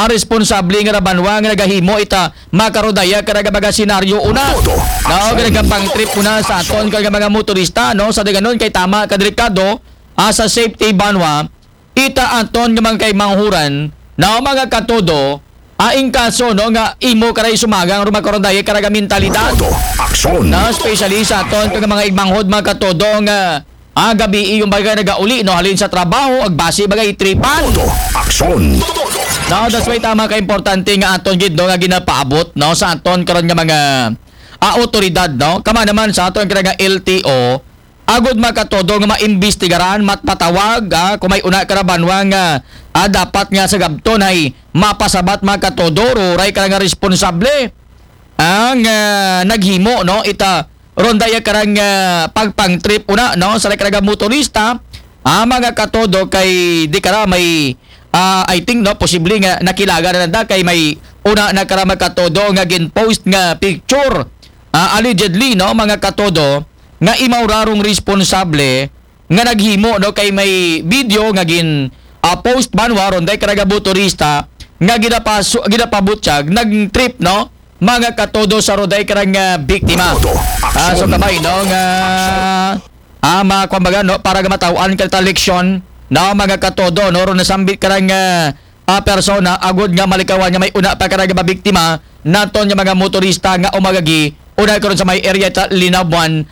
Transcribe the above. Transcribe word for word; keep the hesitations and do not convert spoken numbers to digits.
responsable nga ra banwa nga nagahimo ita makarodaya karaga baga senaryo una. No, karaga pang trip una sa aton karaga mga motorista, no, sa daganon kay tama ka delikado, ah, sa safety banwa, ita aton nga mga kaimanghuran, no, mga katodo, ah, in kaso, no, nga imo karay sumagang rumakarodaya karaga mentalidad. Aksyon. No, especially sa aton nga mga igmanghod, mga katodo, nga ah, gabi yung baga nagauli, no, halin sa trabaho, agbasi baga itripan. Aksyon. No, that's why tama ka importante nga aton gid, no, nga ginapaabot, no, sa aton karon nga mga ah, otoridad, no. Kama naman sa aton kira nga L T O, agud makatodo nga maimbestigaran, matpatawag, ah, kung may una karabanwa nga ah, dapat nga sa gabton ay mapasabat makatodo, ruray ka nga responsable ang ah, naghimo, no, ita ronda ya karang ah, pagpang trip una, no, sa karaga motorista, ah, mga katodo kay di kara may ah, I think, no, posible nga nakilaga na nanda kay may una na kara mga katodo nga gin-post nga picture, ah, allegedly, no, mga katodo, nga imaw rarong responsable nga naghimo, no, kay may video nga gin ah, post banwa ronday karaga motorista nga ginapasu ginapabutyag nag trip, no, mga katodo, sa roday karang ah, biktima. Ah, so kabay, no, nga ah, mga kumbaga, no, para ga mataw-an ka ta leksyon, no, mga katodo, no, ron nasambit karang ah, ah, persona agud nga malikawan nga may una pa karang mabiktima naton nga mga motorista nga umagagi una karon sa may area ta Linabuan,